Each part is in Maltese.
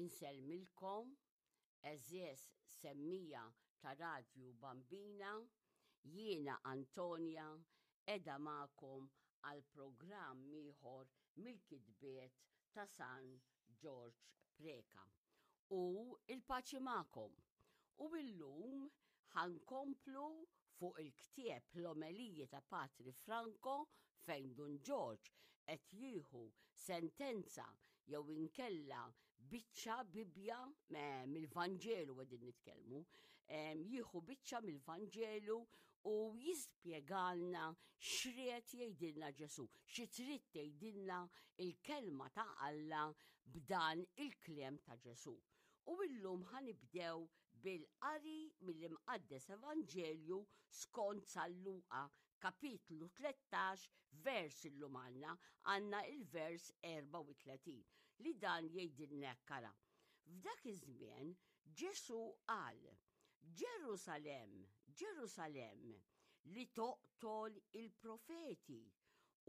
Insellmilkom, għeżież semmija ta' Radju Bambina, jiena Antonia qiegħda magħkom għal programm ieħor mill-kitbiet ta' San Ġorġ Preca. U il-paċi magħkom. U illum ħa nkomplu fuq il-ktieb L-Omeliji ta' Patri Franco fejn Dun Ġorġ qed jieħu sentenza jew inkella biċċa Bibbja mill-Vanġelu qegħdin nitkellmu, jieħu biċċa mill-Vanġelu u jispjegalna x'ried jgħidilna Ġesù, xi trid tgħidilna il-kelma ta' Alla b'dan il-kliem ta' Ġesù. U illum ħanibdew bil-qari mill-Imqaddes Evanġelju skont San Luqa, kapitlu 13, vers illum għandna, għandna il-vers 34, li dan jgħidilna hekk ara. F'dak iż-żmien Ġesù qal, Ġerusalemm, Ġerusalemm, li toqtol il-profeti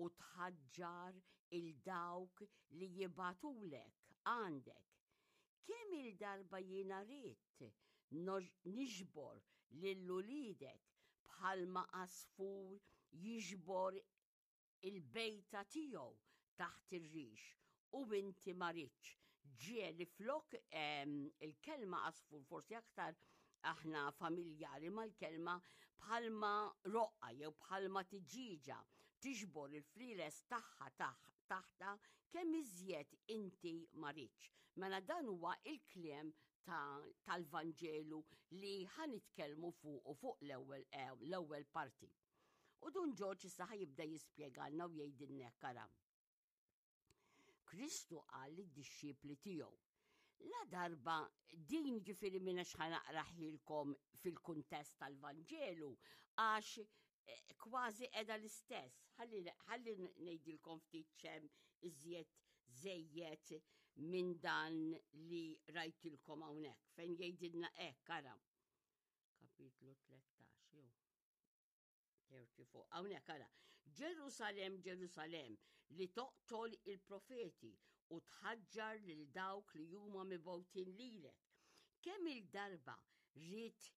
u tħaġġar il dawk li jibgħatulek għandek. Kemm-il darba jiena ridt niġbor lil uliedek bħalma għasfur jiġbor il-bejta tiegħu taħt ir-rix u inti ma ridtx. Ġieli flok il-kelma għasfur forsi aktar aħna familjari mal-kelma bħalma roqqa jew bħalma tiġiġa tiġbor il-flieles tagħha taħta kemm iżjed inti ma ridtx. Mela dan huwa il-kliem tal-Vanġelu li ħanitkellmu fuq u fuq l-ewwel eh, l-ewwel parti. U Dun Ġorġ issa ħajibda jispjegalna u jgħidilna hekk ara. Kristu qal lid-dixxipli tiegħu. La darba din ġifieri minna xħanaqraħilkom fil-kuntest tal-Vanġelu għax eh, kważi edha l-istess. Ħalli ngħidilkom ftit ċem iżjed żejjed minn dan li rajtilkom hawnhekk fejn jgħidilna hekk ara. Kapitlu 13 jew. 34. Hawnhekk ara. Ġerusalemm, Ġerusalemm, li toqtol il-profeti u tħaġġar lil dawk li huma mibgħutin lilek. Kemm il-darba rrid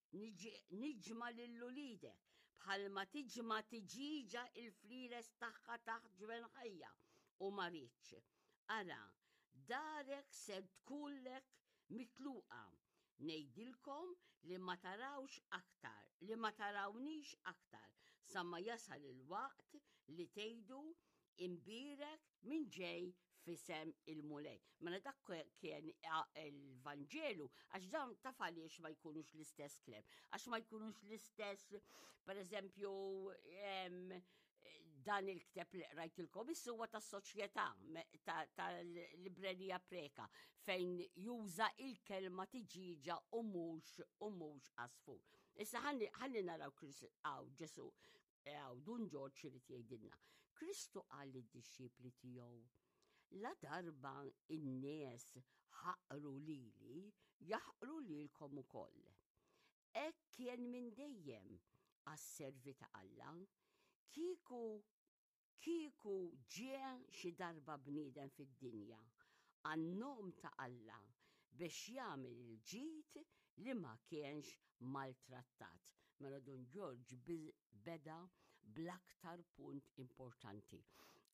niġma lil uliedek bħalma tiġma tiġiġa il-flieles tagħha taħt ġwenħajja u ma ridx. Ara, darek ser tkunlek mitluqa Ngħidilkom li ma tarawx aktar, li ma tarawnix aktar, sa ma jasal il-waqt li tgħidu imbierek min ġej f'isem il-Mulej. Mela dak kien il-Vanġelu, għax dawn taf għaliex ma jkunux l-istess klem, għax ma jkunux l-istess, per eżempju, dan il-kteb li qrajtilkom issa huwa tas-soċjetà tal-librerija Preka fejn juża il-kelma tiġiġa u mhux u mhux għasfur. Issa ħalli naraw għaw Ġesu għaw Dun Ġorġ irid jgħidilna. Kristu qal lid-dixxipli tiegħu La darba in-nies ħaqru lili, jaħqru lilkom ukoll. Hekk kien minn dejjem għas-servi ta' Alla. Kieku kieku ġie xi darba bniedem fid-dinja għan-nom ta' Alla biex jagħmel il-ġid li ma kienx maltrattat. Mela Dun Ġorġ beda bl-aktar punt importanti.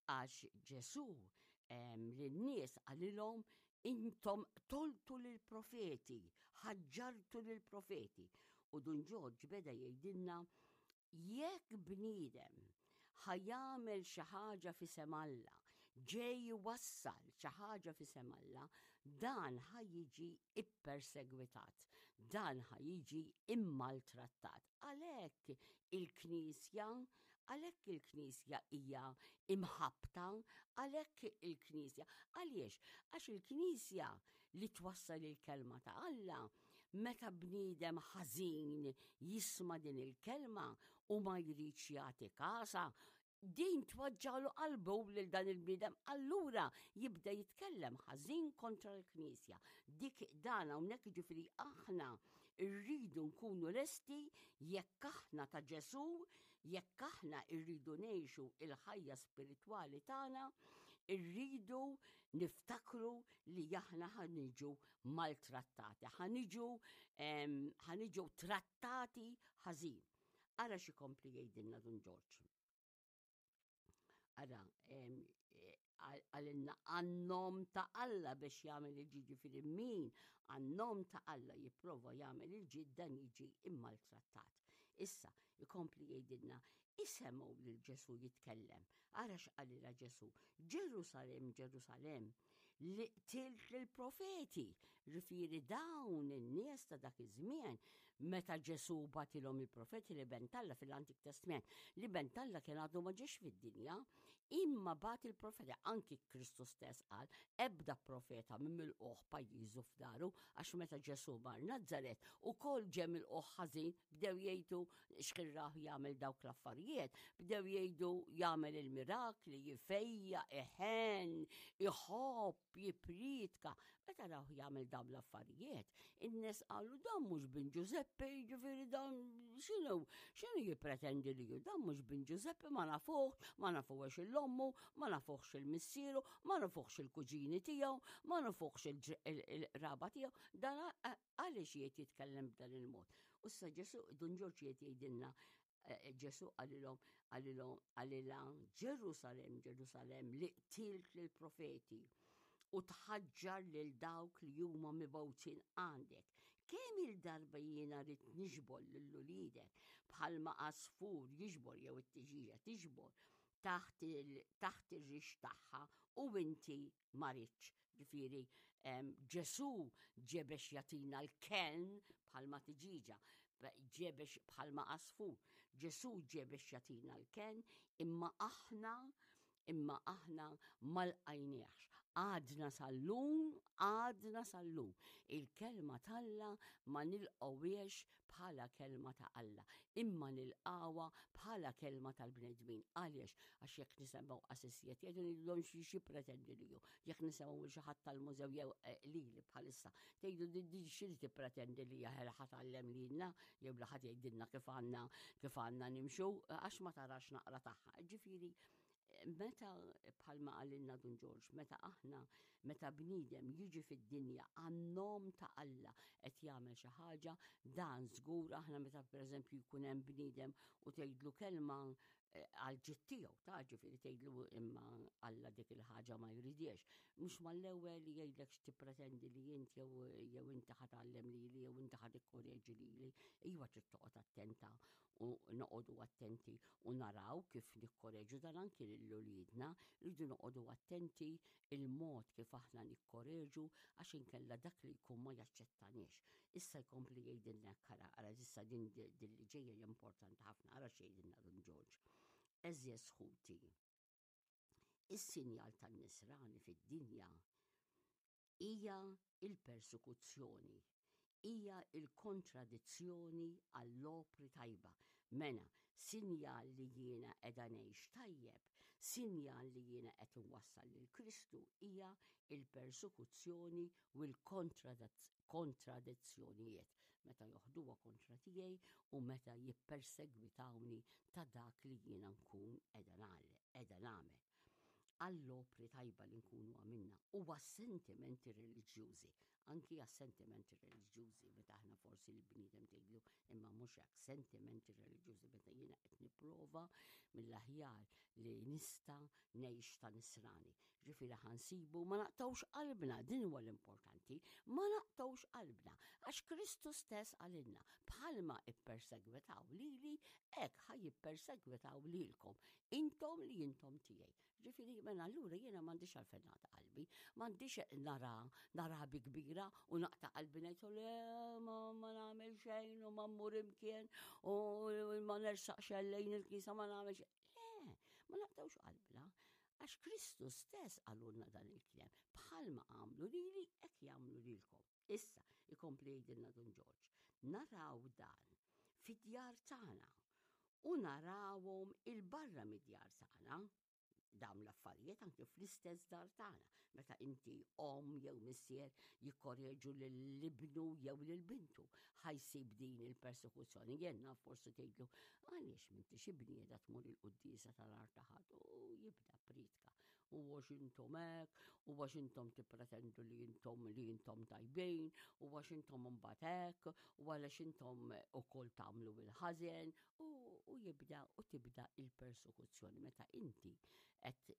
Għax Ġesù lin-nies qalilhom Intom qtoltu lill-profeti, ħaġġartu lill-profeti. U Dun Ġorġ beda jgħidilna jekk bniedem ħa jagħmel xi ħaġa f'isem Alla, ġej iwassal xi ħaġa f'isem Alla, dan ħa jiġi ippersegwitat, dan ħa jiġi immaltrattat. Għalhekk il-Knisja, għalhekk il-Knisja hija imħabbta, għalhekk il-Knisja. Għaliex? Għax il-Knisja li twassal il-kelma ta' Alla, meta bniedem ħażin jisma' din il-kelma u ma jridx jagħti kasa, din twaġġalu qalbu lil dan il-bniedem, allura jibda jitkellem ħażin kontra l-Knisja. Dik dan hawnhekk ġifieri aħna rridu nkunu lesti jekk aħna ta' Ġesù, jekk aħna rridu ngħixu il-ħajja spiritwali tagħna, Irridu niftakru li aħna ħa niġu maltrattati, ħa niġu ħa niġu trattati ħażin. Ara x'ikompli jgħidilna Dun Ġorġ. Ara, għalinna għannom ta' Alla biex jagħmel il-ġid ġifieri min għannom ta' Alla jipprova jagħmel il-ġid dan jiġi immaltrattat. Issa, ikompli jgħidilna, isemgħu lil Ġesu jitkellem. Ara x'qalilha Ġesu, Ġerusalem, Ġerusalem, li qtilt lill-profeti, ġifieri dawn in-nies ta' dak iż-żmien meta Ġesu bagħtilhom il-profeti li ben t'Alla fil-Antik Testament, li ben t'Alla kien għadu ma ġiex fid-dinja, imma bagħat il-profeti, anki Kristu stess qal, ebda profeta minn milquh pajjiżu f'daru, għax meta Ġesu mar Nazzaret ukoll ġie milquh ħażin, bdew jgħidu x'kien rah jagħmel dawk l-affarijiet, bdew jgħidu jagħmel il-mirakli, jifejja, iħenn, iħobb, jippriedka. Meta rawh jagħmel dawn l-affarijiet, in-nies qalu dan mhux bin Ġużeppi, jiġifieri dan x'inhu x'inhu jippretendi li hu dan mhux bin Ġużeppi ma nafuh, ma nafuhx il-ommu, ma nafuhx il-missieru, ma nafuhx il-kuġini tiegħu, ma nafuhx il-raba tiegħu, dan għaliex qiegħed jitkellem b'dan il-mod. U issa Ġesu, Dun Ġorġ qiegħed jgħidilna eh, Ġesu qalilhom qalilhom qalilha Ġerusalem, Ġerusalem li qtilt lill-profeti u tħaġġar lil dawk li huma mibgħutin għandek. Kemm il-darba jiena rrid niġbor lil uliedek bħalma għasfur jiġbor jew it-tiġieġa tiġbor taħt ir-rix tagħha u inti ma ridtx. Ġifieri Ġesù ġie biex jagħtina l-kenn bħalma tiġiġa, ġie biex bħalma għasfur. Ġesù ġie biex jagħtina l-kenn imma aħna imma aħna ma lqajniehx. Għadna sal-lum, għadna sal-lum. Il-kelma t'Alla ma nilqgħuhiex bħala kelma ta' Alla, imma nilqgħuha bħala kelma tal-bnedmin. Għaliex? Għax jekk nisemgħu qasisijiet jgħidu ngħidulhom xi xi pretendi li hu. Jekk nisemgħu lil xi ħadd tal-mużew jew eh, lili bħalissa, tgħidu din xi li tippretendi li hija ħa tgħallem lilna jew li ħadd jgħidilna kif għandna kif għandna nimxu għax ma tarax naqra tagħha. Ġifieri meta bħalma qalilna Dun Ġorġ, meta aħna, meta bniedem jiġi fid-dinja għan-nom ta' Alla qed jagħmel xi ħaġa, dan żgur aħna meta pereżempju jkun hemm bniedem u tgħidlu kelma eh, għal ġid tiegħu, ta' ġifieri tgħidlu imma Alla dik il-ħaġa ma jridiex. Mhux mal-ewwel jgħidlek x'tippretendi li int jew jew inti ħa tgħallem lili jew inti ħa tikkoreġi lili. Iva trid toqgħod attenta u noqogħdu attenti u naraw kif nikkoreġu dan anki lil uliedna, rridu noqogħdu attenti il-mod kif aħna nikkoreġu għax inkella dak li jkun ma jaċċettaniex. Issa jkompli jgħidilna hekk ara, ara issa din din li ġejja hija importanti ħafna, ara x'jgħidilna Dun Ġorġ. Għeżież ħuti, is-sinjal tan-nisrani fid-dinja hija l-persekuzzjoni, hija l-kontradizzjoni għall-opri tajba. Mena, sinjal li jiena qiegħda ngħix tajjeb, sinjal li jiena qed inwassal lil Kristu hija l-persekuzzjoni u l-kontradizzjonijiet meta joħduha kontra tiegħi u meta jippersegwitawni ta' dak li jiena nkun qiegħda nagħmel. għall-opri tajba li nkunu għamilna u għas-sentimenti reliġjużi, anki għas-sentimenti reliġjużi meta aħna forsi l-bniedem tgħidlu imma mhux hekk, sentimenti reliġjużi meta jiena qed nipprova mill-aħjar li nista' ngħix ta' nisrani. Ġifieri ħansibu ma naqtgħux qalbna, din huwa l-importanti, ma naqtgħux qalbna għax Kristu stess qalilna bħalma ippersegwitaw lili hekk ħa jippersegwitaw lilkom. Intom li intom tiegħi. Ġifieri mela allura jiena m'għandix għalfejn naqta' qalbi, m'għandix nara nara bi kbira u naqta' qalbi ngħid le ma, ma nagħmel xejn u ma mmur imkien u ma nersaqx lejn il-knisja ma nagħmel xejn. Le, ma naqtgħux qalbna. Għax Kristu stess qalulna dan il-kliem, bħalma għamlu lili hekk jagħmlu lilkom. Issa, ikompli jgħidilna Dun Ġorġ, naraw dan fid-djar tagħna u narawhom 'il barra mid-djar tagħna, dawn l-affarijiet anke fl-istess dar tagħna, meta inti omm jew missier jikkoreġu lil ibnu jew lil bintu, ħa jsib din il-persekuzzjoni. Jien naf forsi tgħidlu għaliex m'intix ibni qiegħda tmur il-quddiesa tal-art ta' ħadd u jibda priedka. U għax intom hekk, u għax intom tippretendu li intom li intom tajbin, u għax intom imbagħad hekk, u għaliex intom ukoll tagħmlu il-ħażen, u, u jibda u tibda il-persekuzzjoni meta inti qed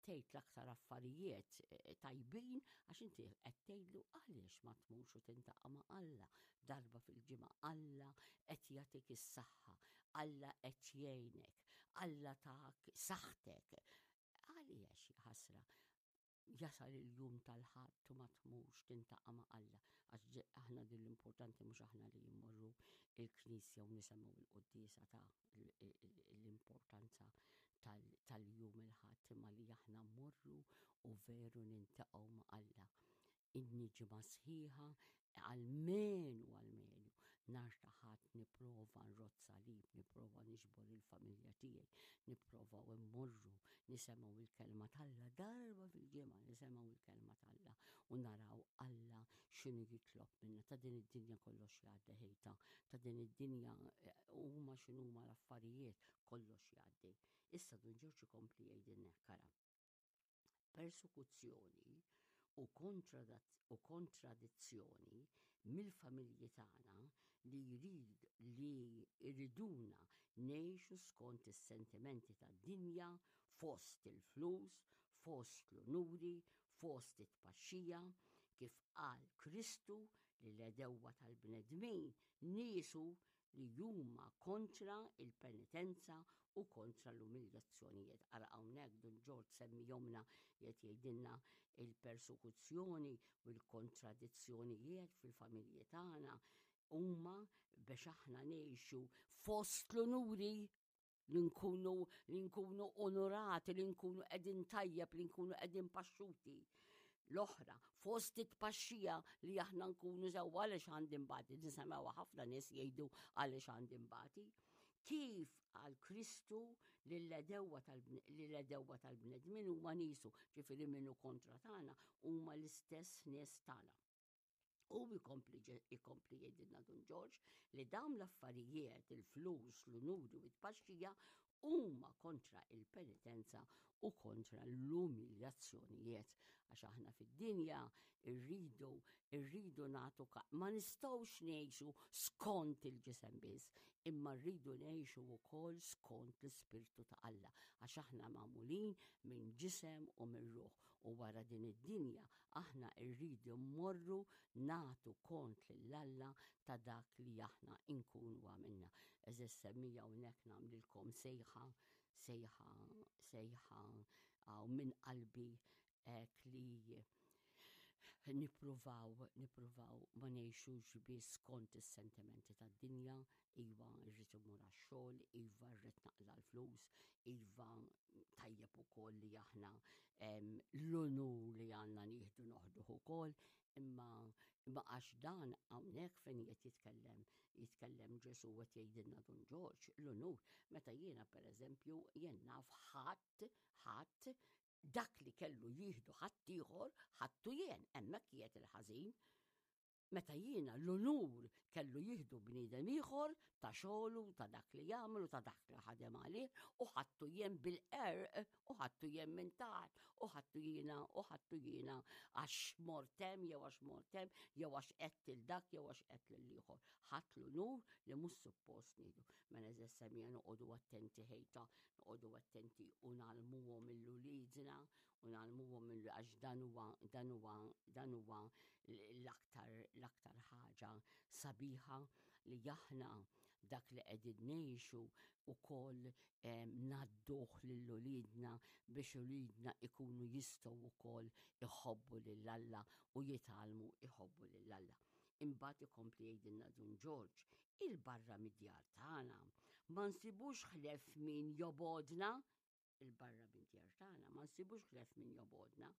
tgħid l-aktar affarijiet eh, tajbin għax inti qed tgħidlu għaliex ma tmurx u tintaqa' ma' Alla darba fil-ġimgħa. Alla qed jagħtik is-saħħa, Alla qed jgħinek, Alla tak saħħtek. Għaliex ħasra jasal il-jum tal-ħadd u ma tmurx tintaqa' ma' Alla. Għax aħna din l-importanti mhux aħna li jimmorru il-knisja u nisimgħu l-quddiesa ta' l-importanza tal-jum il-Ħadd imma li aħna mmorru u veru nintaqgħu ma' Alla. Inni ġimgħa sħiħa almenu almenu nhar ta' Ħadd nipprova nrodd salib, nipprova niġbor il-familja tiegħi, nipprova u mmorru nisemgħu il-kelma t'Alla darba fil-ġimgħa nisemgħu il-kelma t'Alla u naraw Alla x'inhu jitlob minna. Ta' din id-dinja kollox jgħaddi ħejta, ta' din id-dinja eh, huma x'inhuma l-affarijiet kollox jgħaddi. Issa Dun Ġorġ ikompli jgħidilna hekk ara. Persekuzzjoni u u kontradizzjoni mill-familji tagħna li jrid li jriduna ngħixu skont is-sentimenti tad-dinja fost il-flus, fost l-unuri, fost it-tpaxxija, kif qal Kristu li l-għedewwa tal-bnedmin niesu li huma kontra il-penitenza u kontra l-umiljazzjonijiet. Ara hawnhekk Dun Ġorġ semmihomna qed jgħidilna il-persekuzzjoni u l-kontradizzjonijiet fil-familji tagħna huma biex aħna ngħixu fost l-unuri li nkunu li nkunu onorati, li nkunu qegħdin tajjeb, li nkunu qegħdin paxxuti. L-oħra, fost it-tpaxxija li aħna nkunu sewwa għaliex għandi mbati, nisemgħu ħafna nies jgħidu għaliex għandi mbati. Kif għal Kristu lill-edewwa tal-bnedmin huma niesu, ġifieri minnu kontra tagħna huma l-istess nies tagħna. U jkompli jkompli jgħidilna Dun Ġorġ li dawn l-affarijiet, il-flus, l-unuri u t-tpaxxija huma kontra il-penitenza u kontra l-umiljazzjonijiet. Għax aħna fid-dinja irridu irridu nagħtu ma nistgħux ngħixu skont il-ġisem biss, imma rridu ngħixu wkoll skont l-ispirtu ta' Alla, għax aħna magħmulin minn ġisem u minn ruħ u wara din id-dinja Aħna rridu mmorru nagħtu kont lil Alla ta' dak li aħna nkunu għamilna. Eżis semmija hawnhekk nagħmlilkom sejħa, sejħa, sejħa għaw minn qalbi hekk li nippruvaw, nippruvaw ma ngħixux biss skont is-sentimenti tad-dinja, iva rrid immur għax-xogħol, iva rrid naqla l-flus, iva tajjeb ukoll li aħna l-unur li għandna nieħdu noħduh ukoll, imma imma għax dan hawnhekk fejn qed jitkellem jitkellem Ġesu qed jgħidilna Dun Ġorġ l-unur meta jiena pereżempju jien naf ħadd ħadd dak li kellu jieħdu ħadd ieħor ħadtu jien hemmhekk qiegħed il-ħażin. Meta jiena l-unur kellu jieħdu bniedem ieħor ta' xogħlu, ta' dak li jagħmel u ta' dak li ħadem għalih u ħadtu jien bil-qerq u ħadtu jien minn taħt u ħadtu jiena u ħadtu jiena għax mort hemm jew għax mort hemm jew għax qed lil dak jew għax qed lil ieħor. Ħadd l-unur li mhux suppost nieħdu. Mela eżess semija noqogħdu attenti ħejta, noqogħdu attenti u nagħlmuhom il-uliedna u ngħallmuhom għax dan huwa dan huwa dan huwa l-aktar l-aktar ħaġa sabiħa li aħna dak li qegħdin ngħixu ukoll ngħadduh lil uliedna biex uliedna ikunu jistgħu wkoll iħobbu lil Alla u jitgħallmu iħobbu lil Alla. Imbagħad ikompli jgħidilna Dun Ġorġ, il-barra mid-djar tagħna ma nsibux ħlef min jobodna 'il barra mid-djar tagħna ma nsibux ħlef min jobgħodna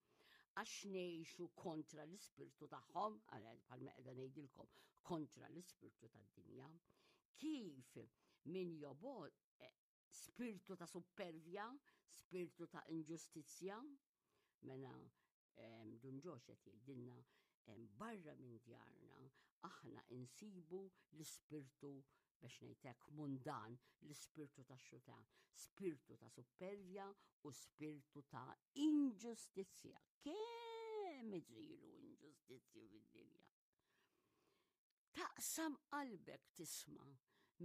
għax ngħixu kontra l-ispirtu tagħhom, bħalma qiegħda ngħidilkom, kontra l-ispirtu tad-dinja. Kif min jobgħod eh, spirtu ta' suppervja, spirtu ta' inġustizzja, mela Dun Ġox qed jgħidilna barra minn djarna aħna insibu l-ispirtu. biex ngħid hekk mundan, l-ispirtu tax-xutan, spirtu ta' suppervja u spirtu ta' inġustizzja. Kemm isiru inġustizzji fid-dinja. Taqsam qalbek tisma'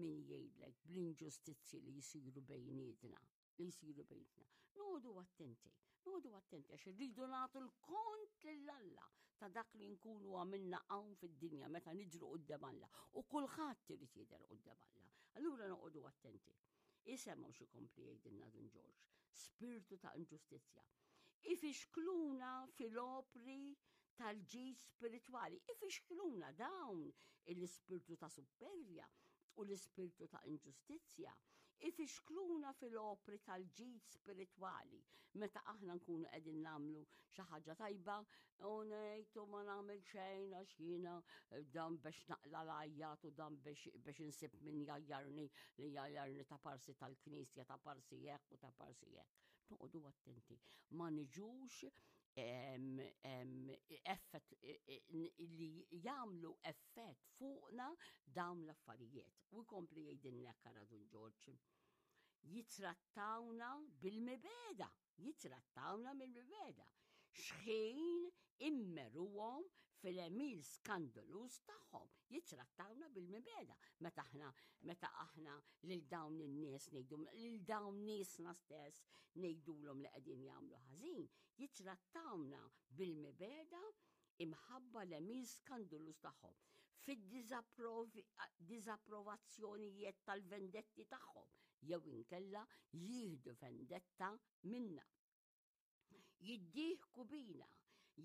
min jgħidlek bl-inġustizzji li jsiru bejnietna, li jsiru bejnietna. Noqogħdu attenti, noqogħdu attenti għax irridu nagħtu l-kont lil Alla ta' dak li nkunu għamilna hawn fid-dinja meta niġru quddiem Alla u kulħadd irid jidher quddiem Alla. Allura noqogħdu attenti. Isemgħu xi kompli jgħidilna Dun Ġorġ, spirtu ta' inġustizzja. Ifixkluna fil-opri tal-ġid spiritwali. Ifixkluna dawn l-ispirtu ta' suppervja u l-ispirtu ta' inġustizzja. Ifixkluna fil-opri tal-ġid spiritwali. Meta aħna nkunu qegħdin nagħmlu xi ħaġa tajba u ngħid ma nagħmel xejn għax jiena dan biex naqla l-għajjat u dan biex insib min jgħajjarni li jgħajjarni ta' parsi tal-knisja ta' parsi hekk u ta' parsi hekk. Noqogħdu attenti ma niġux effett li jagħmlu effett fuqna dawn l-affarijiet. U jkompli jgħidilna kara Dun Ġorġ. Jitrattawna bil-mibeda, jitrattawna bil-mibeda. Xħin immeruhom fil-emil skandalus tagħhom, jitrattawna bil-mibeda. Meta aħna meta aħna lil dawn in-nies ngħidu lil dawn niesna stess ngħidulhom li qegħdin jagħmlu ħażin, jittrattawna bil-mibegħda imħabba l-għemil skanduluż tagħhom, fid-diżapprovazzjonijiet tal-vendetti tagħhom, jew inkella jieħdu vendetta minna. Jiddieħku bina,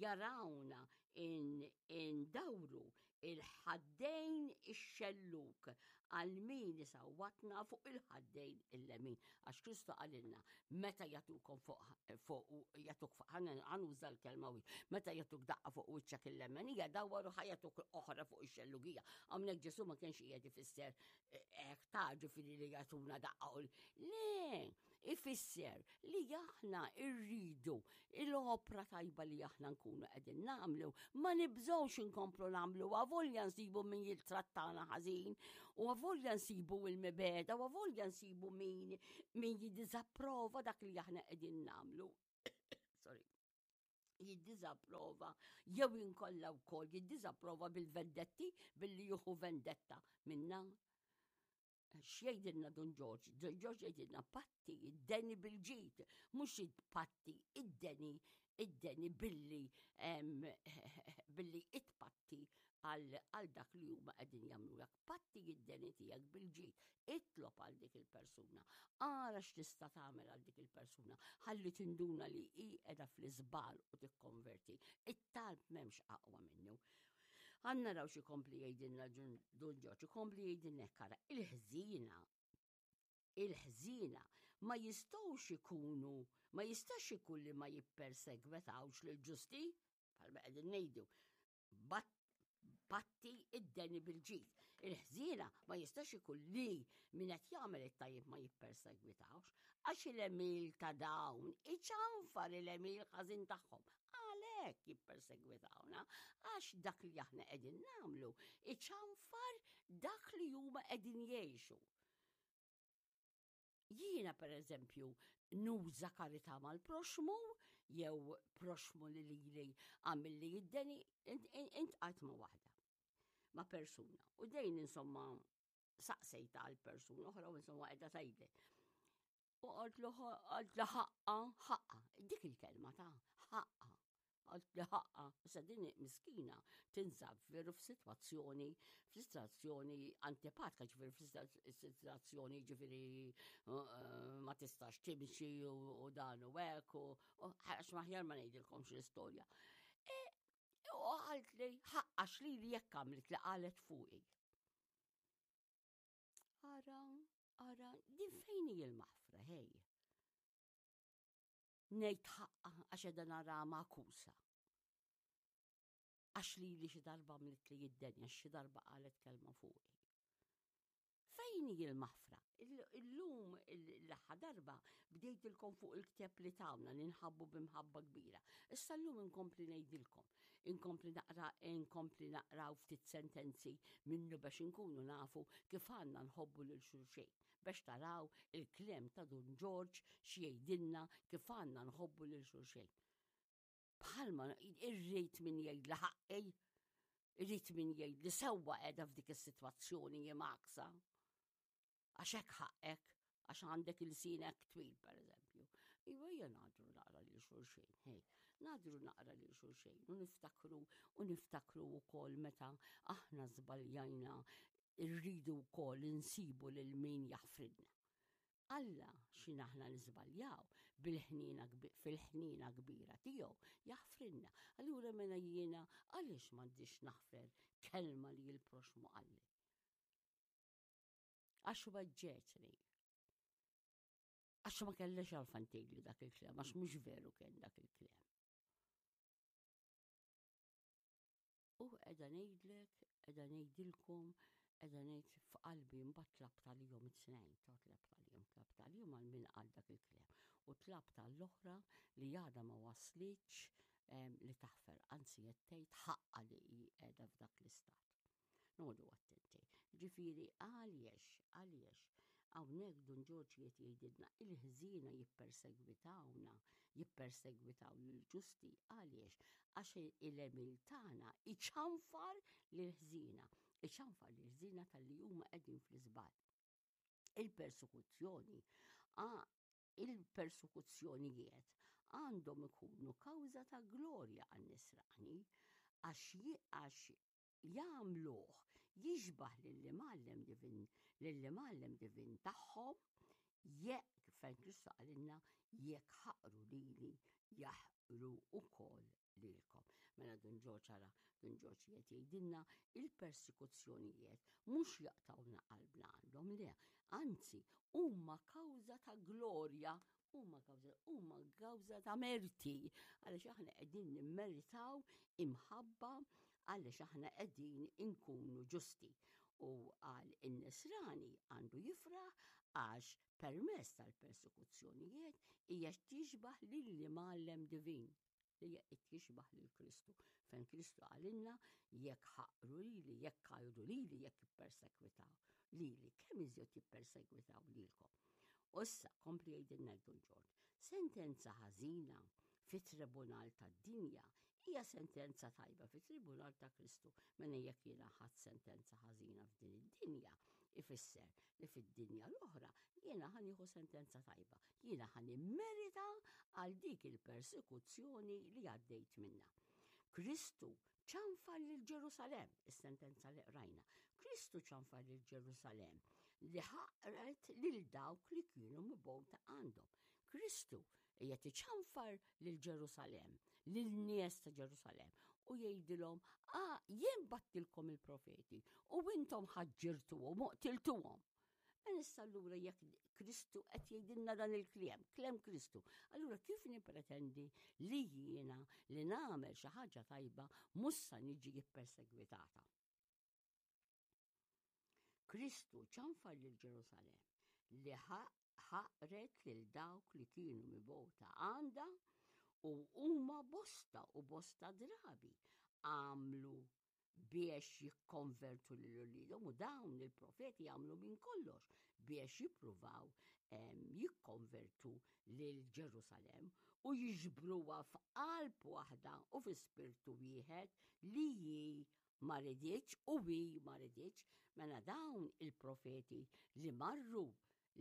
jarawna indawru il-ħaddejn ix-xellug għal min isawwatna fuq il-ħaddejn il-lemin. Għax Kristu qalilna, meta jagħtukom fuq fuq jagħtuk fuq ħanuża l-kelma meta jagħtuk daqqa fuq wiċċek il-lemenija, dawwaru ħa jagħtuk oħra fuq ix-xellugija. Hawnhekk Ġesu ma kienx qiegħed ifisser eh, hekk ta' ġifieri li jagħtuna daqqa Le, ifisser li aħna rridu l-opra tajba li aħna nkunu qegħdin nagħmlu, ma nibżgħux inkomplu nagħmlu avolja nsibu min jittrattana ħażin, u avolja nsibu il-mibeda, u avolja nsibu min min jiddiżapprova dak li aħna qegħdin nagħmlu. Sorry jiddiżapprova jew inkolla wkoll jiddiżapprova bil-vendetti billi juhu vendetta minna. X'jgħidilna Dun Ġorġ? Dun Ġorġ jgħidilna patti id-deni bil-ġid, mhux patti id-deni id-deni billi billi itpatti għal dak li huma qegħdin jagħmlulek. Patti id-deni tiegħek bil-ġid, itlob għal dik il-persuna, ara x'tista' tagħmel għal dik il-persuna, ħalli tinduna li hi qiegħda fl-iżbal u tikkonverti. It-talb m'hemmx aqwa minnu. Għan naraw xi kompli jgħidilna Dun Ġorġ, ikompli jgħidilna hekk ara, il-ħżiena, il-ħżiena ma jistgħux ikunu, ma jistax ikun li ma jippersegwetawx lil ġusti, bħalma qegħdin ngħidu, patti id-deni bil-ġid. Il-ħżiena ma jistax ikun li min qed jagħmel it-tajjeb ma jippersegwitawx, għax il-emil ta' dawn iċanfar il-emil ħażin tagħhom. Għalhekk jippersegwitawna għax dak li aħna qegħdin nagħmlu iċanfar dak li huma qegħdin jgħixu. Jiena per eżempju nuża karità mal-proxmu jew proxmu li lili għamilli jiddeni intqajt ma' waħda ma' persuna. U dejn insomma saqsejta għal persuna oħra u insomma qiegħda tgħidli. U qaltlu qaltlu ħaqqa, ħaqqa, dik il-kelma ta' ħaqqa. Qaltli ħaqqa, issa din miskina tinsab veru f'sitwazzjoni, f'sitwazzjoni antipatika, ġifieri f'sitwazzjoni ġifieri eh, ma tistax timxi u dan u hekk u għax maħjar ma ngħidilkomx l-istorja. E, u qaltli ħaqqa x'lili jekk għamlet li qalet fuqi. Ara, ara, din fejn hi l-maħfra, hej. Ngħid ħaqqa għax qiegħda nara magħkusa. Għax li li xi darba għamlet li jiddenja, xi darba qalet kelma fuqi. Fejn hi l-maħfra? Illum l-aħħar darba bdejtilkom fuq il-kteb li tawna li nħabbu b'imħabba kbira. Issa llum inkompli ngħidilkom. Inkompli naqra, inkompli naqraw ftit sentenzi minnu biex inkunu nafu kif għandna nħobbu lil xulxejn. Biex taraw il-kliem ta' Dun Ġorġ x'jgħidilna kif għandna nħobbu lil xulxejn. Bħalma irrid min jgħid li ħaqqi, irrid min jgħid li sewwa qiegħda f'dik is-sitwazzjoni jimaksa. Għax hekk ħaqqek, għax għandek il-sinek twil, per eżempju. Iva hija nadru naqra lil xulxin, hej, nadru naqra lil xulxin u niftakru u niftakru wkoll meta aħna żbaljajna rridu wkoll insibu lil min jaħfrilna. Alla x'in aħna niżbaljaw bil-ħniena fil-ħniena kbira tiegħu jaħfrilna. Allura mela jiena għaliex m'għandix naħfer kelma li l-proxmu qalli? Għax weġġetni. Għax ma kellix għalfan tgħidli dak il-klem, għax mhux veru kien dak il-klem. U qiegħda ngħidlek, qiegħda ngħidilkom, qiegħda ngħid f'qalbi mbagħad tlabt għalihom it-tnejn, ta' tlabt għalihom, tlabt għalihom għal min qal dak il-klem. U tlabt għall-oħra li għadha ma waslitx li taħfer, anzi qed tgħid ħaqqa li hi qiegħda f'dak l-istat. Noqogħdu attenti. Ġifieri għaliex, għaliex hawnhekk Dun Ġorġ qiegħed jgħidilna il-ħżiena jippersegwitawna, jippersegwitaw lill-ġusti għaliex għax il-għemil tagħna iċanfar lill-ħżiena, iċanfar lill-ħżiena talli huma qegħdin fl-iżball. Il-persekuzzjoni il-persekuzzjonijiet għandhom ikunu kawża ta' glorja għan-nisrani għax jagħmluh jixbah lill-Imgħallem divin, lill-Imgħallem divin tagħhom, jekk fejn Kristu qalilna jekk ħaqru lili jaħqru wkoll lilkom. Mela Dun Ġorġ ara, Dun Ġorġ qed jgħidilna il-persekuzzjonijiet mhux jaqtawna qalbna għandhom le, anzi huma kawża ta' glorja huma kawża huma kawża ta' merti għaliex aħna qegħdin nimmeritaw imħabba għaliex aħna qegħdin inkunu ġusti. U għal in-nisrani għandu jifraħ għax permezz tal-persekuzzjonijiet hija tixbaħ lill-imgħallem divin li qed jixbaħ lil Kristu. Fejn Kristu qalilna jekk ħaqru lili, jekk għajru lili, jekk ippersekwitaw lili, kemm iżjed jippersegwitaw lilkom. U issa kompli jgħidilna Dun Ġorġ, sentenza ħażina fit-tribunal tad-dinja hija sentenza tajba fit-tribunal ta' Kristu. Mela jekk jiena ħadd sentenza ħażina f'din id-dinja, ifisser li fid-dinja l-oħra jiena ħa nieħu sentenza tajba. Jiena ħa nimmerita għal dik il-persekuzzjoni li għaddejt minna. Kristu ċanfar lil Ġerusalemm, is-sentenza li qrajna. Kristu ċanfar lil Ġerusalemm li ħaqret lil dawk li kienu mibgħuta għandhom. Kristu qiegħed iċanfar lil Ġerusalemm, lil nies ta' Ġerusalemm u jgħidilhom, "Ah, jien battilkom il-profeti u intom ħaġġirtuhom u qtiltuhom." Mela issa allura jekk Kristu qed jgħidilna dan il-kliem, kliem Kristu, allura kif nippretendi li jiena li nagħmel xi ħaġa tajba mhux sa niġi ppersegwitata? Kristu ċanfar lil Ġerusalemm li ħaqret lil dawk li kienu mibgħuta għandha u huma bosta u bosta drabi għamlu biex jikkonvertu lil uliedhom u dawn il-profeti għamlu minn kollox biex jippruvaw jikkonvertu lil Ġerusalemm u jiġbruha f'qalb waħda u fi spirtu wieħed li hi ma riditx u hi ma riditx mela dawn il-profeti li marru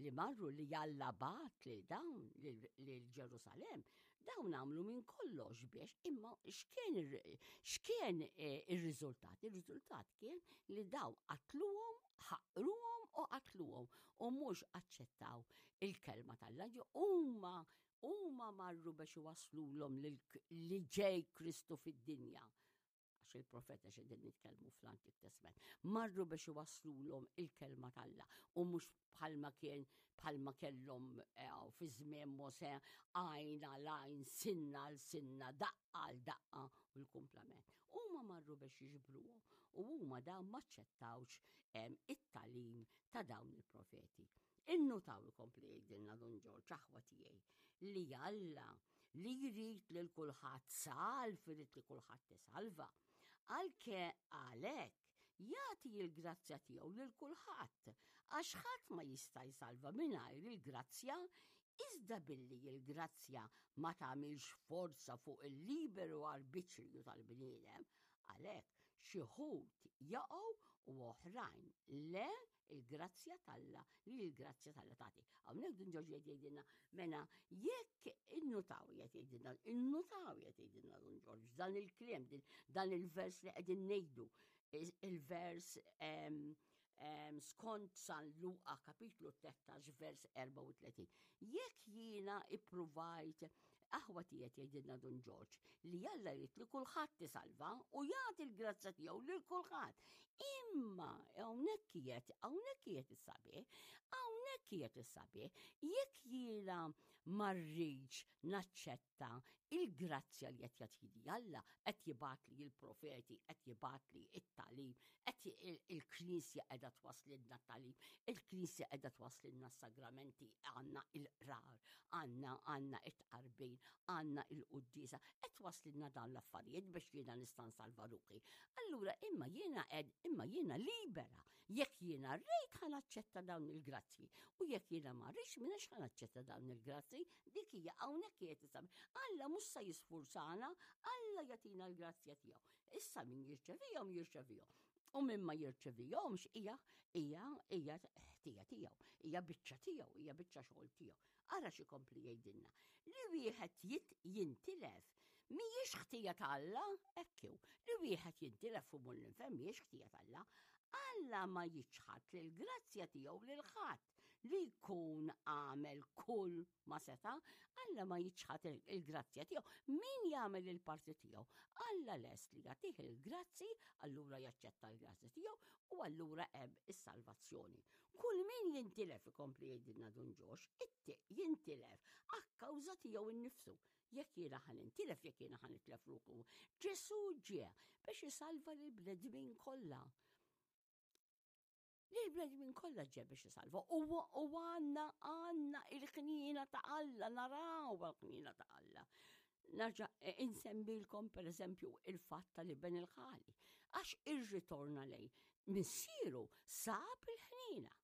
li marru li Alla bagħat lil dawn lil Ġerusalemm, dawn għamlu minn kollox biex imma x'kien x'kien eh, ir-riżultat? Ir-riżultat kien li daw qatluhom, ħaqruhom u qatluhom u mhux aċċettaw il-kelma tal-Alla. Huma huma marru biex iwasslulhom li ġej Kristu fid-dinja għax il-profeta xedin nitkellmu fl-Antik Testament, marru biex iwasslulhom il-kelma t'Alla u mhux bħalma kien bħalma kellhom eh, fi żmien Mosè għajn għal għajn, sinna għal sinna, daqqa għal daqqa u l-kumplament. Huma marru biex jiġbruhom u huma dawn maċċettawx it-talim ta' dawn il-profeti. Innutaw ikompli jgħidilna Dun Ġorġ aħwa tiegħi li Alla. li jrid lil kulħadd salv, irid li kulħadd isalva. Għalke għalhekk jagħti l-grazzja tiegħu lil kulħadd, għax ħadd ma jista' jsalva mingħajr il-grazzja, iżda billi l-grazzja ma tagħmilx forza fuq il-liberu arbitrju tal-bniedem, għalhekk xi wħud jaqgħu u oħrajn le il-grazzja t'Alla li l-grazzja t'Alla tagħti. Hawnhekk Dun Ġorġ qed jgħidilna mela jekk innutaw qed jgħidilna, innutaw qed jgħidilna Dun Ġorġ dan il-kliem, dan il-vers li qegħdin ngħidu, il-vers skont San Luqa kapitlu 13 vers 34. Jekk jiena ippruvajt aħwa tiegħek jgħidilna Dun Ġorġ li Alla jrid li kulħadd isalva u jagħti l-grazzja tiegħu lil kulħadd. Imma hawnhekk qiegħed, hawnhekk qiegħed is-sabiħ, hawnhekk qiegħed is-sabiħ, jekk jiena ma rridx naċċetta il-grazzja li qed jagħtili Alla, qed jibgħatli l-profeti, qed jibgħatli it-tagħlim, qed il-Knisja qiegħda twaslilna t-tagħlim, il-Knisja qiegħda twaslilna s-sagramenti, għandna il-qrar, għandna għandna it-tqarbin, għandna il-quddiesa, qed twaslilna dawn l-affarijiet biex jiena nista' nsalva ruħi. Allura imma jiena qed imma jiena libera Jekk jiena rrid ħa naċċetta dawn il-grazzji u jekk jiena ma rridx m'iniex ħa naċċetta dawn il-grazzji, dik hija hawnhekk qiegħed isab. Alla mhux se jisfurzana, Alla jagħtina l-grazzja tiegħu. Issa min jirċevihom jirċevihom. U min ma jirċevihomx hija hija hija ħtija tiegħu, hija biċċa tiegħu, hija biċċa xogħol tiegħu. Ara xi kompli jgħidilna. Li wieħed jintilef mhijiex ħtija ta' Alla, hekk hu. Li wieħed jintilef u mur l-infern mhijiex ħtija ta' Alla. Alla ma jiċħad li l-grazzja tiegħu lil ħadd li jkun għamel kull ma seta', Alla ma jiċħad il-grazzja tiegħu. Min jagħmel il-parti tiegħu? Alla lest li jagħtih il-grazzi, allura jaċċetta l-grazzi tiegħu u allura hemm is-salvazzjoni. Kull min jintilef ikompli jgħidilna Dun Ġox, jintilef akkawża tiegħu innifsu. Jekk jiena ħa nintilef, jekk jiena ħa nitlef ruħu. Ġesù ġie biex isalva lill-bnedmin kollha. Lill-bnedmin kollha ġie biex isalva. U għandna għandna il-ħniena ta' Alla, naraw il-ħniena ta' Alla. Narġa' e, insemmilkom per eżempju il-fatt tal-iben il-ħali. Għax irritorna lej missieru sab il-ħniena.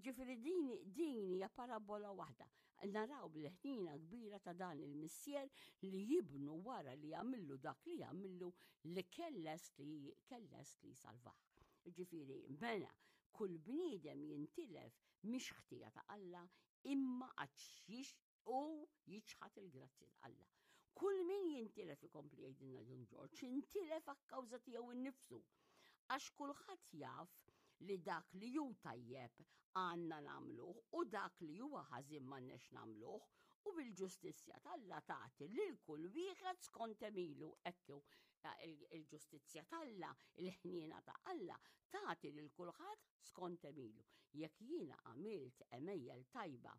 Ġifieri din din hija parabola waħda. Naraw l-ħnina kbira ta' dan il-missier li jibnu wara li jagħmillu dak li jagħmillu li kelles li kelles li salvah. Ġifieri mela kull bniedem jintilef mhix ħtija ta' Alla imma għax u jiċħad il-grazzji ta' Alla. Kull min jintilef ikompli jgħidilna Dun Ġorġ, intilef akkawża tiegħu innifsu. Għax kulħadd jaf li dak li hu tajjeb għandna nagħmluh u dak li huwa ħażin m'għandniex nagħmluh u bil-ġustizzja t'Alla tagħti lil kull wieħed skont għemilu hekk hu il-ġustizzja t'Alla, il-ħniena ta' Alla tagħti lil kulħadd skont għemilu. Jekk jiena għamilt għemejjel tajba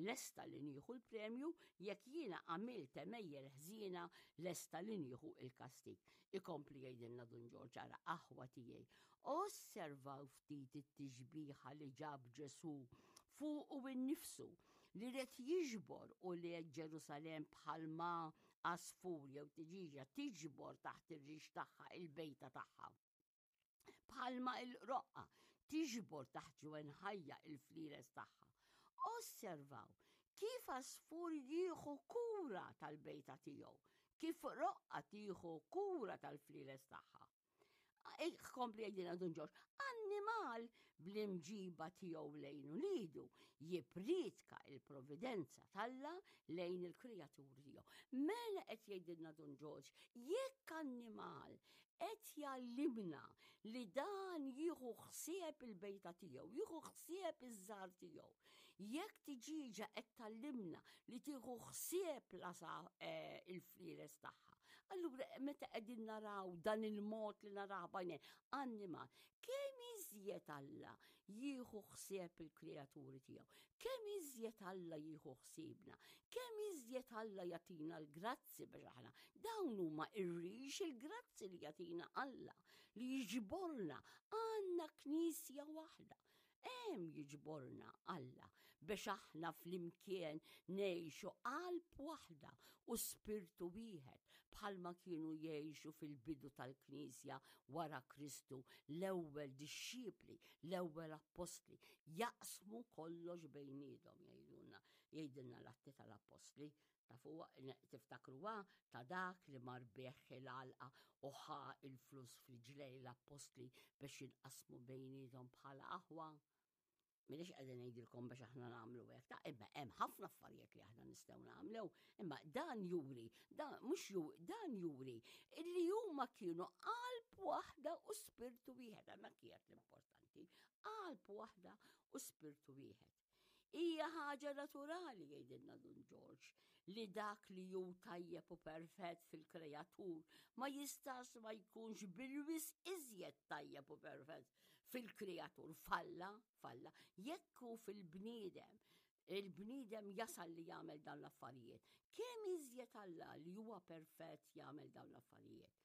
lesta li nieħu l-premju, jekk jiena għamilt għemejjel ħżiena lesta li nieħu il-kastig. Ikompli jgħidilna Dun Ġorġ ara aħwa tiegħi. Osservaw ftit it-tixbiha li ġab Ġesù fuqu innifsu li ried jiġbor ulied Ġerusalemm bħalma għasfur jew tiġiġa tiġbor taħt ir-rix tagħha il-bejta tagħha. Bħalma il-qroqqa tiġbor taħt ġwenħajja il-flieles tagħha. Osservaw kif għasfur jieħu kura tal-bejta tiegħu, kif roqqa tieħu kura tal-flieles tagħha. Kompli jgħidilna Dun Ġorġ, annimal bl-imġiba tiegħu lejn ulidu jippriedka il-providenza t'Alla lejn il-kreaturi tiegħu. Mela qed jgħidilna Dun Ġorġ, jekk annimal qed jgħallimna li dan jieħu ħsieb il-bejta tiegħu, jieħu ħsieb iż-żgħar tiegħu. Jekk tiġiġa qed tgħallimna li tieħu ħsieb lasa eh, il-flieles tagħha. Allura meta qegħdin naraw dan il-mod li naraw bajnejn annimal, kemm iżjed Alla jieħu ħsieb il-kreaturi tiegħu, kemm iżjed Alla jieħu ħsiebna, kemm iżjed Alla jagħtina l-grazzi biex aħna. Dawn huma ir-rix il-grazzi li jagħtina Alla li jiġborna għandna knisja waħda. Hemm jiġborna Alla. biex aħna flimkien ngħixu qalb waħda u spirtu wieħed bħalma kienu jgħixu fil-bidu tal-Knisja wara Kristu l-ewwel dixxipli, l-ewwel appostli, jaqsmu kollox bejniethom jgħidulna, jgħidilna l-Atti tal-Appostli. Tafuha, tiftakruha ta' dak li mar beħ il-għalqa u ħa il-flus f'riġlej l-appostli biex jinqasmu bejniethom bħala aħwa? Minix qegħdin ngħidilkom biex aħna nagħmlu hekk, ta' imma hemm ħafna affarijiet li aħna nistgħu nagħmlu, imma dan juri, dan mhux ju, dan juri illi huma kienu qalb waħda u spirtu wieħed, hemmhekk kienet l-importanti, qalb waħda u spirtu wieħed. Hija ħaġa naturali jgħidilna Dun Ġorġ li dak li hu tajjeb u perfett fil-kreatur ma jistax ma jkunx bil-wis iżjed tajjeb u perfett fil-kreatur falla, falla, jekk hu fil-bniedem, il-bniedem jasal li jagħmel dawn l-affarijiet. Kemm iżjed Alla li huwa perfett jagħmel dawn l-affarijiet.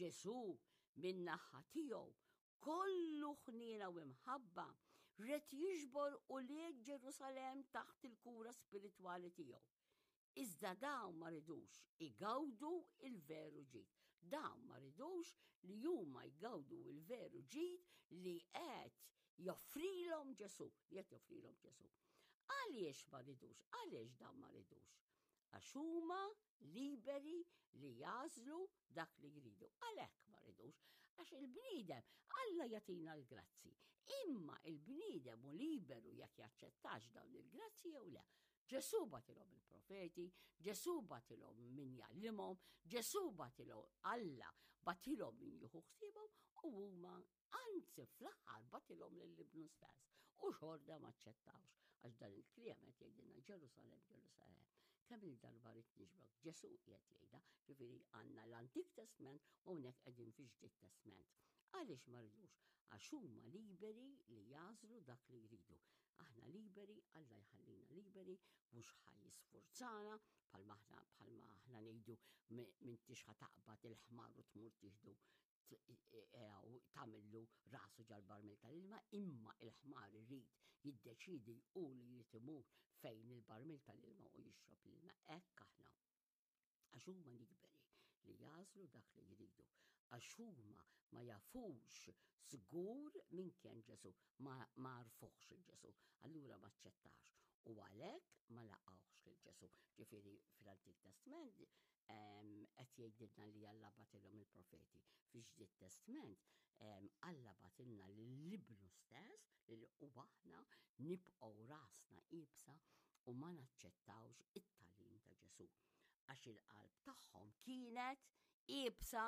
Ġesù min-naħa tiegħu kollu ħniena u imħabba ret jiġbor ulied Ġerusalemm taħt il-kura spiritwali tiegħu. Iżda dawn ma ridux igawdu il-veru ġid. Dawn ma ridux li huma jgawdu il-veru ġid li qed joffrilhom Ġesù, li qed joffrilhom Ġesù. Għaliex ma ridux? Għaliex dawn ma ridux? Għax huma liberi li jagħżlu dak li jridu. Għalhekk ma ridux, għax il-bniedem Alla jagħtina l-grazzi. Imma il-bniedem hu liberu jekk jaċċettax dawn il-grazzi jew le. Ġesù bagħtilhom il-profeti, Ġesù bagħtilhom min jgħallimhom, Ġesù bagħtilhom Alla bagħtilhom min jieħu ħsiebhom u huma anzi fl-aħħar bagħtilhom lil ibnu stess. U xorta ma ċċettawx għax dan il-kliem qed jgħidilna Ġerusalemm, Ġerusalemm. Kemm il-darba rrid niġbrok Ġesù qiegħed jgħidha, ġifieri għandna l-Antik Testment u hawnhekk qegħdin fi Ġdid Testment. Għaliex ma rridux? Għax huma liberi li jagħżlu dak li jridu. Aħna liberi, Alla jħallina liberi, mhux ħa jisfurzana bħalma aħna bħalma aħna ngħidu m'intix ħa taqbad il-ħmar u tmur tieħdu e, e, e, tagħmillu rasu ġal-barmil tal-ilma, imma il-ħmar irid jiddeċidi u li jrid imur fejn il-barmil tal-ilma u jixrob l-ilma. Hekk aħna. Għax huma liberi li jagħżlu dak li jridu. Għax huma ma jafux żgur min kien Ġesù, ma għarfuhx il Ġesù, allura ma ċċettax u għalhekk ma laqgħuhx lil Ġesù. Ġifieri fl-Antik Testament qed jgħidilna li Alla bagħtilhom il-profeti. Fi-Ġdid Testament Alla bagħtilna lil Ibnu stess li u aħna nibqgħu rasna iebsa u ma naċċettawx it-tagħlim ta' Ġesù. Għax il-qalb tagħhom kienet iebsa,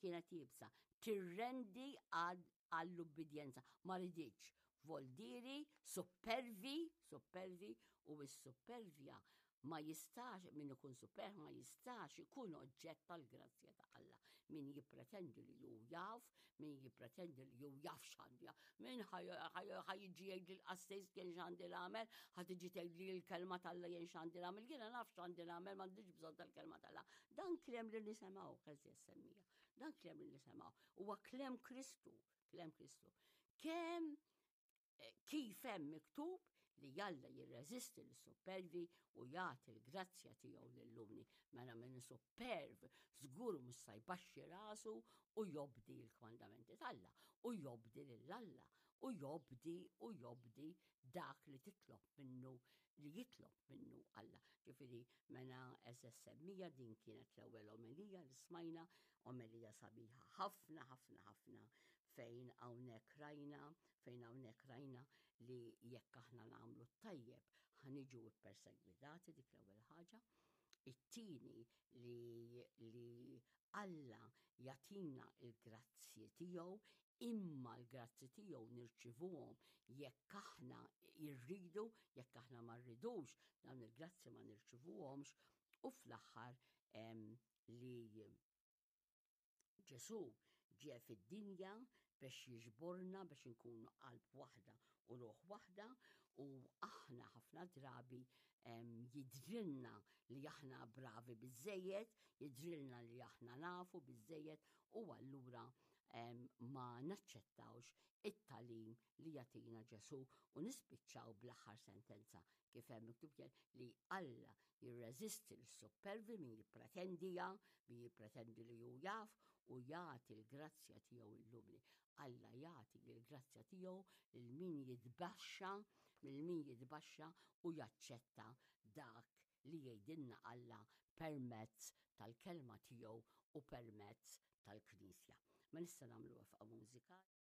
kienet iebsa, tirrendi għall-ubbidjenza. Ma riditx voldiri, suppervi, suppervi u s-suppervja ma jistax, min ikun superb ma jistax ikun oġġett tal-grazzja ta' Alla. Min jippretendi li hu jaf, min jippretendi li hu jaf x'għandu min ħa jiġi jgħid li l-qassis kien x'għandi nagħmel, ħa tiġi tgħid li l-kelma t'Alla jien x'għandi nagħmel, jiena naf x'għandi nagħmel, m'għandix bżonn tal-kelma t'Alla. Dan kliem li nisimgħu, għeżież semmija, dan kliem li nisimgħu, huwa kliem Kristu, kliem Kristu. Kemm eh, kif hemm miktub li Alla jirreżisti lis-suppervi u jagħti l-grazzja tiegħu lill-umli. Mela min supperv żgur mhux sa jbaxxi rasu u jobdi l-kmandamenti t'Alla u jobdi lil Alla u jobdi u jobdi dak li titlob minnu li jitlob minnu Alla. Ġifieri mela eżeż semmija din kienet l-ewwel omelija li smajna, omelija sabiħa ħafna ħafna ħafna fejn hawnhekk rajna, fejn hawnhekk rajna li jekk aħna nagħmlu t-tajjeb ħa niġu ppersegwitati dik l-ewwel ħaġa. It-tieni li, li Alla jagħtina l-grazzji tiegħu imma l-grazzi tiegħu nirċivuhom jekk aħna jirridu, jekk aħna ma rridux, dawn il-grazzi ma nirċivuhomx u fl-aħħar li Ġesù ġie fid-dinja biex jiġborna biex inkunu qalb waħda u ruħ waħda u aħna ħafna drabi jidrilna li aħna bravi biżejjed, jidrilna li aħna nafu biżejjed u allura ma naċċettawx it-tagħlim li jagħtina Ġesù u nispiċċaw bl-aħħar sentenza kif hemm miktub li Alla jirreżisti lis-suppervi min jippretendija, min jippretendi li hu jaf u jagħti l-grazzja tiegħu l-umli. Alla jagħti l-grazzja tiegħu lil min jitbaxxa, lil min jitbaxxa u jaċċetta dak li jgħidilna Alla permezz tal-kelma tiegħu u permezz tal-Knisja. Ma nista' nagħmlu waqfa mużikali.